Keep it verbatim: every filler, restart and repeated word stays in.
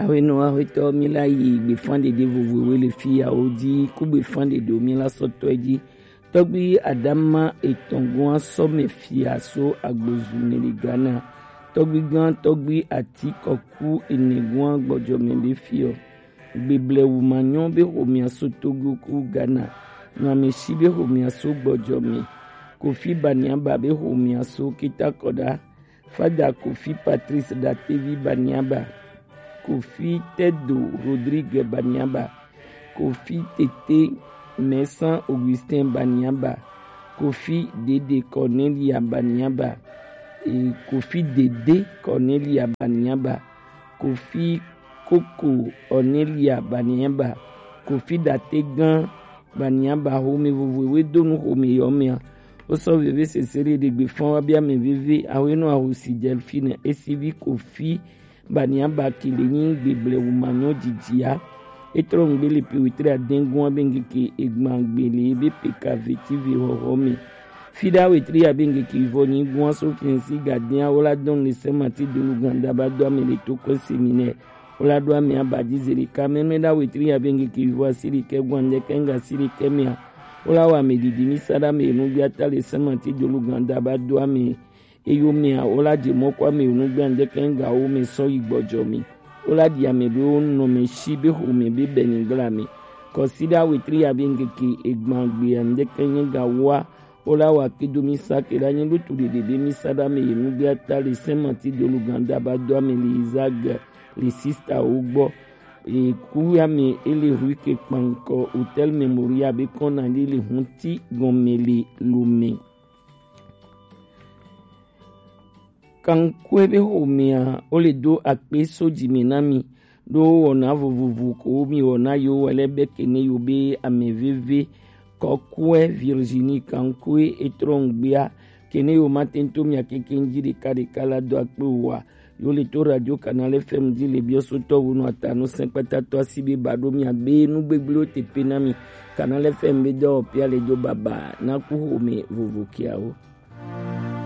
Aƒenɔ Aƒetɔ, mi la yi gbefan ɖeɖe vovovowo le fi yawo dzi, ku gbefan ɖeɖewo mi la sɔ tɔe dzi. Tɔgbi Adama etɔn gɔn asɔ mɛ fia so agbozu mɛ le Ghana. Tɔgbi gan tɔgbi ati kɔku ene gɔn gbɔjɔ mɛ be fiɔ. Gbeble wu ma nyɔ be xomia so Togo ku Ghana. Nyamesi be xomia so gbɔjɔ mɛ. Kofi Baniaba be xomia so Kitakɔda. Fada Kofi Patrice Datevi Baniaba, Kofi Tedo Rodrigue Baniaba, Kofi Tete Maisan Augustin Baniaba, Kofi Dede Cornelia Baniaba, e, Kofi Dede Cornelia Baniaba, Kofi Koko Cornelia Baniaba, Kofi Dategan Baniaba xome vovovoe do nu xome yɔ mɛa. Wosɔ veve sese ɖe ɖe gbe fɔn wa bia mɛ veve awe nɔ ahosi jɛ fi ne esi vi Kofi Baniaba ki le nyi gbeble wu ma nyɔ jijia. Etrɔ ŋgbe le pe wetre adengun abe ŋkeke egban gbe le ebe pe ka veti ve xɔxɔ me. Fi ɖe awetri abe ŋkeke vɔ nyi gun aso fiɛnsi gadin awo la dɔn le sɛmati dolu ganda ba do ame le to kɔ seminɛ. Wo la ɖo ame aba dzi zi ɖeka. Mɛmɛ ɖe awetri abe ŋkeke vɔ asi ɖekɛ gun andɛkɛ ŋga asi ɖekɛ mɛa. Wo la wɔ ame ɖiɖi mi sa ɖe ame enu gbia ta le sɛmati dolu ganda ba do ame eyo mɛa. Wo la dze mɔ kɔ ame enu gbia andɛkɛ ŋga wo mɛ sɔ yi gbɔdzɔ mi. Wo la ɖi ame ɖewo nɔ mɛ si be xome be bɛ ni gla me. Kɔsi ɖe awetri abe ŋkeke egban gbe andɛkɛ ŋga wa. Wo la wa kidu mi sa ke la nyi lutu ɖeɖe be mi sa ɖe ame yi nugbe ata le sɛmati dolu ganda ba do ame le Isaac le sista wo gbɔ. E ku ya me ele rue ke kpankɔ hotel Memoria be kɔna ɖe le hunti gɔme le Lome. Kankue be xomea, wo le do akpe so dzi me na mi. Ɖo wɔna vovovo ko mi wɔna yo wɛlɛ be kene yo be ame veve kɔkɔe Virginie Kankue etrɔ ŋgbea kene yo ma tento mia keke ŋdzi ɖeka ɖeka la do akpe wa. Yo le to radio Canal F M dzi le biɔ so tɔ wo nɔ ata no sɛn kpata tɔ asi be ba ɖo mia be nu gbegble wo te pe na mi. Canal F M be dɔ pia le do baba na ku xome vovo kiawo.